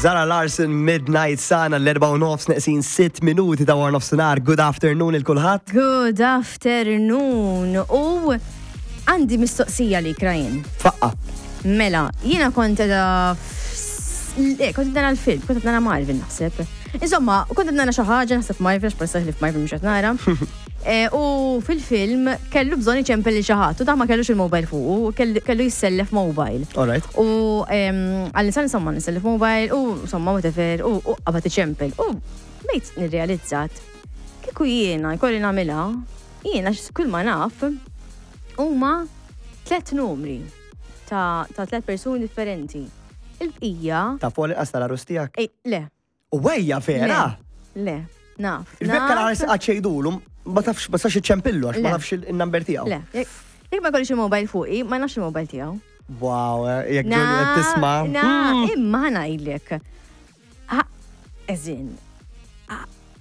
Zara Larson Midnight Sana l-4 u nofs neqsin 6 minuti ta' war nofsinhar. Good afternoon il kulħadd. Good afternoon. U għandi mistoqsija li Ryan. Faqqa. Mela, jiena kont edha Le, kont nara l-film, kont nara Marvin naħseb. Insomma, kont nara xi ħaġa naħseb Marvin, għax palissa ħlif Marvin mhux qed nara. Eh, u fil-film kellu bżonn iċempel li xi ħadd u da ma kellux il-mobile fuqu, kellu jissellef mobile. Alright. U għall-insan insomma nissellef mobile u insomma whatever u qabad iċempel. U bejt nirrealizzat kieku jiena jkolli nagħmilha, jiena kull ma naf huma tlet numri ta' tlet persuni differenti. Il-bqija. Ta' fuq l-inqas tal-għarus tiegħek? Le. U wejja vera? Le, naf. Il-vekka l-għarus qatt xejdulu, ma tafx, ma sax iċċempillu għax ma nafx il-number tiegħu. Le, jekk ma jkollix il-mobile fuqi, ma nafx il-mobile tiegħu. Wow, eh, jekk ġoli qed tisma'. Na, hmm. imma ngħidlek. Eżin,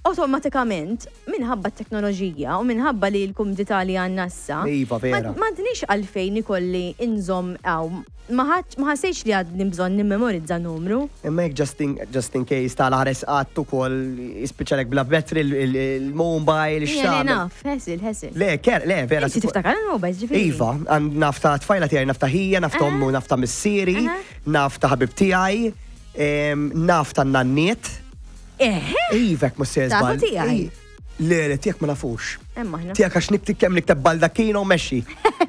awtomatikament minħabba t-teknoloġija u minħabba li l-kumdità li għandna issa. Iva, vera. M'għandniex għalfejn ikolli inżomm hawn. Ma ħassejtx li għadni bżonn nimmemorizza numru. Imma jekk just in, just in case tal-ħares qatt ukoll jispiċċalek bla battery il-mobile, x'tagħmel. Naf, ħesil, ħesil. Le, ker, le, vera. Inti tiftakar il-mobile, ġifieri. Iva, naf ta' tfajla tiegħi, naf ta' ħija, naf ta' ommu, naf ta' missieri, naf ta' ħabib tiegħi. Naf ta' nanniet. Eħe. Iva, jekk mhux se Tafu żball. tiegħi. Le, le, tiegħek ma nafux. Hemm aħna. Tiegħek għax niktib kemm nikteb Baldacchino u mexxi.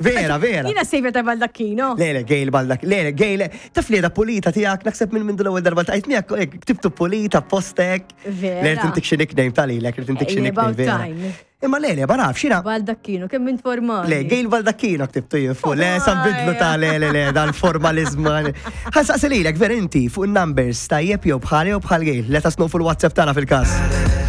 Vera, vera. Jiena sejfer ta' Baldacchino. Le, le, Gail Baldak, le, le, Gail, taf li da pulita tiegħek, naħseb minn minn l-ewwel darba tajt miegħek, hekk, ktibtu pulita postek. Vera. Le, tintik xi nickname tal-ilek, tintik xi Eh, nickname about vera. time. Imma le, le, ma nafx, jiena. Baldacchino, kemm int formali. Le, Gail Baldacchino ktibtu jien fuq. Le, sa bidlu ta' le, le, le, dal-formalizmu. Ħansaqsi lilek, ver inti, fuq il-numbers, tajjeb jew bħali jew bħal Gail. Let us know fuq il-WhatsApp tagħna fil-każ.